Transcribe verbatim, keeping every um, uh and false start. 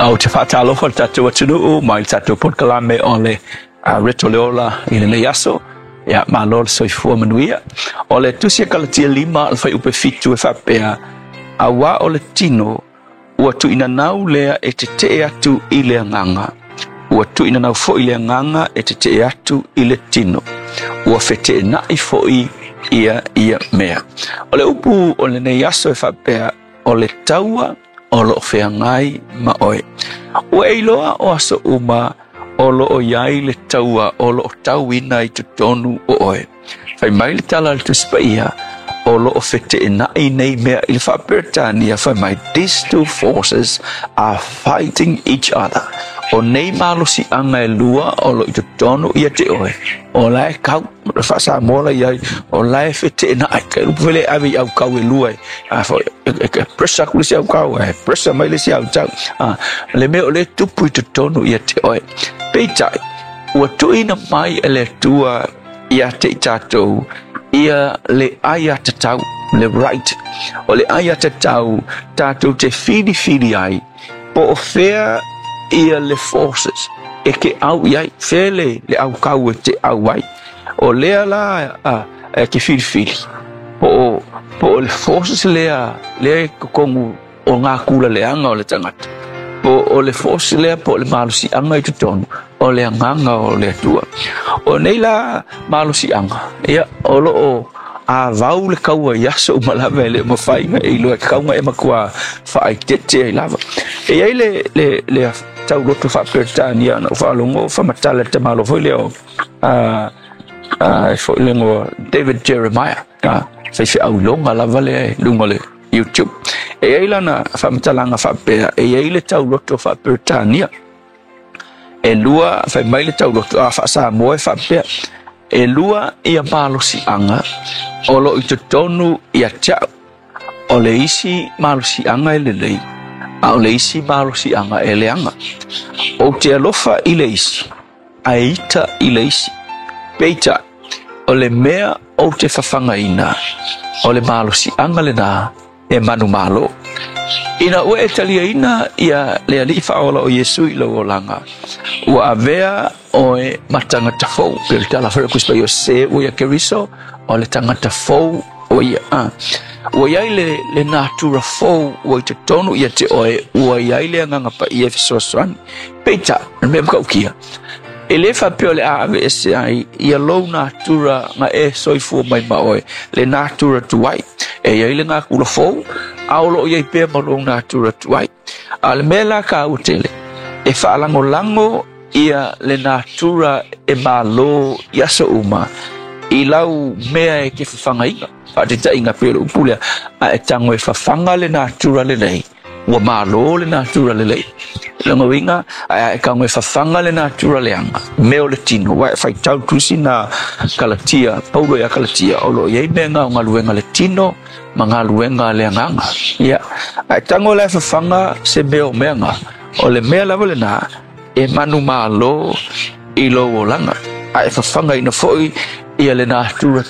Ou te faatalofa le tatou atunuu mai le tatou polokalame o le uh, Reto Leola i lenei aso. Ia, malo le soifua manuia. O le tusi a Kalatia lima le fuaiupu fitu e faapea, auā o le tino ua tuuinanau lea e tetee atu i le agaga. Ua tuuinanau foi le agaga e tetee atu i le tino. Ua feteenai foi ia ia mea. O le upu o lenei aso e faapea, o le taua o loo feagai ma oe. Ua e iloa o aso uma o loo i ai le taua o loo tauina i totonu o oe. Fai mai le tala a le Tusi Paia, o loo feteenai nei mea i le faaperetania fai mai, "These two forces are fighting each other." O nei malosiaga e lua o loo i totonu ia te oe. O la e kau, le faasamoa la iai, o la e feteenai. Ka upu fele ave i aukau e lua e, a foi, e, e, pressure aku le isi aukau, e pressure mai le isi autau. A, le mea o le tupu i totonu ia te oe. Peitai, ua tuuina mai e le Atua ia te i tatou ia le aiatatau, le right. O le aiatatau tatou te filifili ai, po o fea ia le forces e ke au i ai, fea le, le aukau e te au ai. O lea la a, e ke filifili, po o, po o le forces lea, lea e kokongu o ngā kula leanga o le tangata. Po o le force lea po o le malosiaga i totonu o le agaga o le Atua. O nei la malosiaga, ia, o loo avau le kaua i aso uma lava e le mafai e iloa e kauga e matua faaitete ai lava. E i ai le, le, le tauloto faaperetania na faalogo faamatala le tamalo foi lea o uh, uh, foi le igoa David Jeremiah, uh, faifeau iloga lava lea i luga o le YouTube. E i ai lana faamatalaga faapea, e i ai le tauloto faaperetania. E lua, fai mai le tauloto, a faasamoa e faapea, e lua ia malosiaga o loo i totonu ia te au. O le isi malosiaga e lelei, a o le isi malosiaga e leaga. Ou te alofa i le isi, ae ita i le isi. Peitai, o le mea ou te fafagaina, o le malosiaga lenā e manumalo. Ina ua e taliaina ia le Alii Faaola o Iesu i lou olaga, ua avea oe ma tagata fou. Pe le tala foi o o se ua ia Keriso, o le tagata fou o ia. Ah. Ua iai le, le natura fou ua i totonu ia te oe, ua iai le Agaga Paia e fesoasoani. Peitai, le mea matautia, e le faapea o le a aveese ai ia lou natura na e soifua mai ma oe, le natura tuai. E iai le gakula fou, a o loo iai pea ma lou natura tuai. A le mea la ka tele, e faalagolago ia le natura e malo i aso uma, i lau mea e ke fafagaina. Faataitaiga pei o le upu lea, a e tago e fafaga le natura lelei, ua malo le natura lelei. Lona uiga, ae e tago e fafaga le natura leaga, mea o le tino, ua e faitau tusi na Kalatia, Paulo ia Kalatia, o loo iai mea ga o galuega le tino, ma galuega le agaga. Ia, ae tago la e fafaga se mea o meaga, o le mea lava lenā, e manumalo i lou olaga. Ae fafagaina foi ia le natura